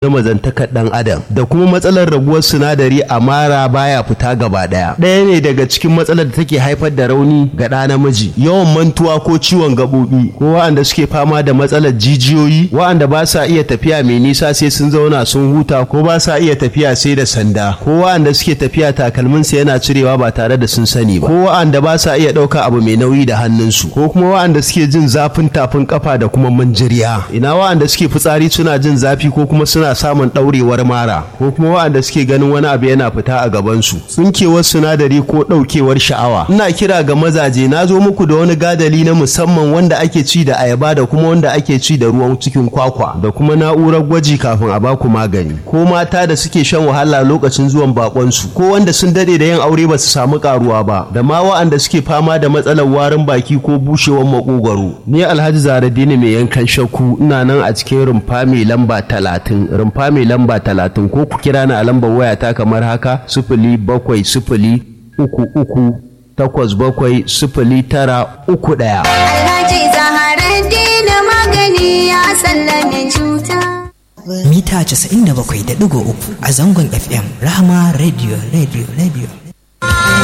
Na mazantakar ɗan adam da kuma matsalar raguwar sinadari a mara baya fita gaba ɗaya. Ɗaya ne daga cikin matsalar da take haifar da rauni ga ɗa namiji, yawan mantuwa ko ciwon gaɓoɓi, ko wa'anda suke fama da matsalar jijiyoyi, wa'anda ba sa iya tafiya mai nisa sai sun zauna sun huta, ko ba sa iya tafiya sai da sanda, ko wa'anda suke tafiya takalminsu yana cirewa ba tare da sun sani ba, ko wa'anda ba sa iya ɗauka abu mai nauyi da hannunsu, ko kuma wa'anda suke jin zafin tafin kafa da kuma manjiriya. Ina wa'anda suke fitsari suna jin zafi ko kuma suna samun ɗaurewar mara, ko kuma waɗanda suke ganin wani abu yana fita a gabansu, tsinkewar sinadari ko ɗaukewar sha'awa. Ina kira ga mazaje, na zo muku da wani gadali na musamman wanda ake ci da ayaba da kuma wanda ake ci da ruwan cikin kwakwa da kuma na'urar gwaji kafin a baku magani, ko mata da suke shan wahala lokacin zuwan bakonsu, ko wanda sun dade da yin aure ba su samu karuwa ba, da ma waɗanda suke fama da matsalar warin baki ko bushewar makogwaro. Ni Alhaji Zaradini mai yankan shakku ina nan a cikin rumfa mai lamba 30, rumfa mai lamba 30, ko ku kira ni a lambar wayata kamar haka: 07033870931. Alhaji Zaharaddin magani ya sallame cuta. Mita 97.3 a zangon FM Rahama Radio Radio Radio.